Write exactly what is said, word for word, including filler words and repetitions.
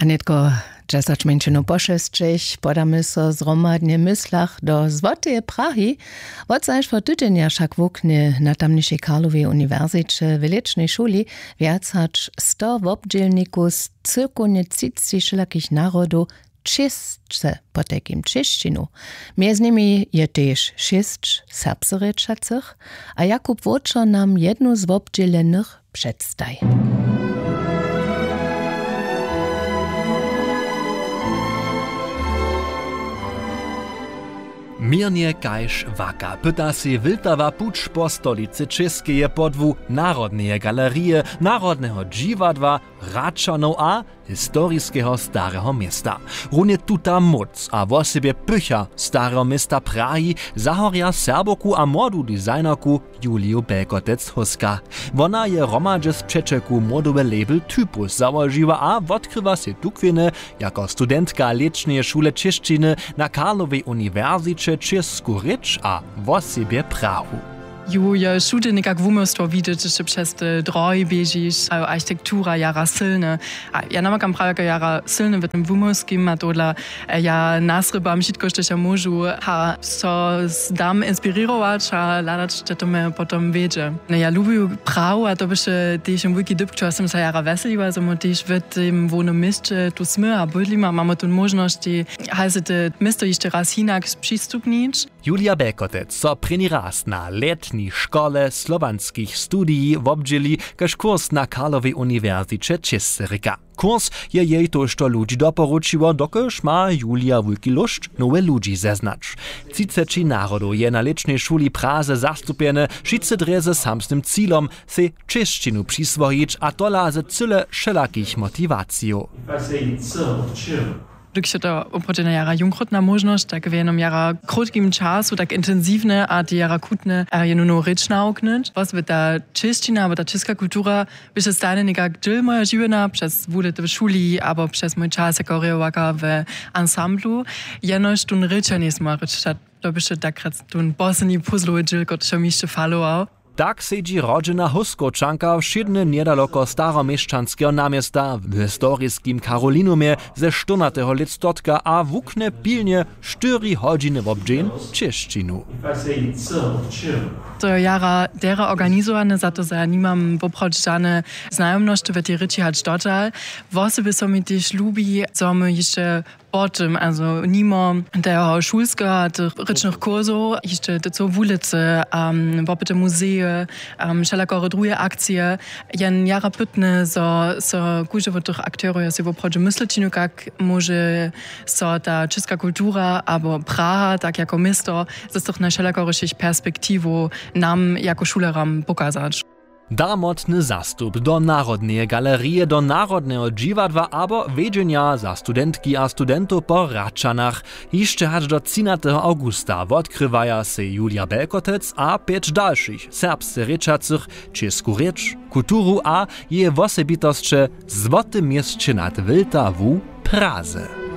A nětko dźesać mjeńšinow po šesćich podamy so zhromadnje w myslach do złoteje Prahi. Wotzaž wot tudenja wšak wuknje na tamnišej Karlowej uniwersiće w lěćnej šuli wjac hač sto wobdźělnikow z cyłkownje třiceći wšelakich narodow čěsće, potajkim čěšćinu. Mjez nimi je tež šěsć serbskerěčacych. A Jakub Wočer nam jednu z wobdźělenych předstaji. Měrnje kaž waka pyta sej wyltawa puć po stolicy Čěskeje podłu Narodneje galerije, Narodneho dźiwadła, Hradčanow a historiskeho stareho města. Runje tuta móc a wosebje pycha stareho města Prahi zahorja Serbowku a młodu designerku Juliju Belkotec-Huska. Wona je hromadźe z přećelku modowy label Typus załožiła a wotkrywa sej tukwěnje jako studentka lěćneje šule čěšćiny na Karlowej uniwersiće, čěsku rěč a wosebje Prahu. Ju je wšudźe někak wuměłstwo widźeć, hdyž ty přez te drohi běžiš, a jo, architektura jara sylne. A ja namakam prawje jako jara sylne w tym wuměłskim a tohodla, e, ja nasrěbam wšitko, štož ja móžu, a so s-, dam inspirirować a hladać, hdźe to mje potom wjedźe. No, ja lubiju Prahu a to běše tež jen wulki dypk, čeho sym so jara wjeseliła, zo my tež w tym hłownym měsće tu smy a bydlimy a mamy tu móžnosć, haj se te město hišće raz hinak přistupnić. Julija Belkotec so prěni raz na lětni škole slowjanskich studij wobdźěli kaž kurs na Karlowej uniwersiće Čěsce rěka. Kurs je jej tójšto ludźi doporučiło, dokelž ma Julija wulki lóšt, nowe ludźi zeznać. Třiceći narodow je na lěćnej šuli w Praze zastupjene, wšitcy drje ze samsnym cilom, sej čěšćinu přiswojić, a tola ze cyle wšelakich motiwacijow. Dyrk je to woprawdźe jara jónkrotna móžnosć, tak w jednym jara krótkim času tak intensiwne a te jara chutne a jenu nowu rěč nawuknyć. Wosebje ta čěšćina abo ta čěska kultura běše stajnje někak dźěl mojeho žiwjenja přez wulěty w šuli abo přez mój čas jako rěhowaka w ansamblu. Jenož tón rěčer njejsmy rěč, to běše takrát tón posledni puzzlowy dźěl, kotryž mi hišće falował. Tak sedźi rodźena Hóskowčanka wšědnje njedaloko staroměšćanskeho naměsta w historiskim Karolinumje ze štyrnateho lětstotka a wuknje pilnje štyri hodźiny wobdźeń čěšćinu. To je jara derje organizowane, za to, zo ja nimam woprawdźe žane znajomnosće w tej rěči hač dotal. Wosebje so mi tež lubi, zo my hišće po tym, also nimo teho šulskeho a tych rěčnych kursow hišće te cyłe wulicy, um, wopyty muzeje, um, wšelakore druhe akcije. Jen jara pytny, zo so kóždy wot tych akterow je sej woprawdźe myslić, kak móže so ta čěska kultura abo Praha tak jako město z tych najwšelakorišich perspektiwow nam jako šulerjam pokazać. Darmotny zastup do Narodneje galerije, do Narodneho dźiwadła abo wjedźenja za studentki a studentow po Hradčanach. Hišće hač do třinateho awgusta wotkrywaja sej Julija Belkotec a pjeć dalšich serbsce rěčacych čěsku rěč, kulturu a jeje wosebitosće w złotym měsće nad Wltawu w Praze.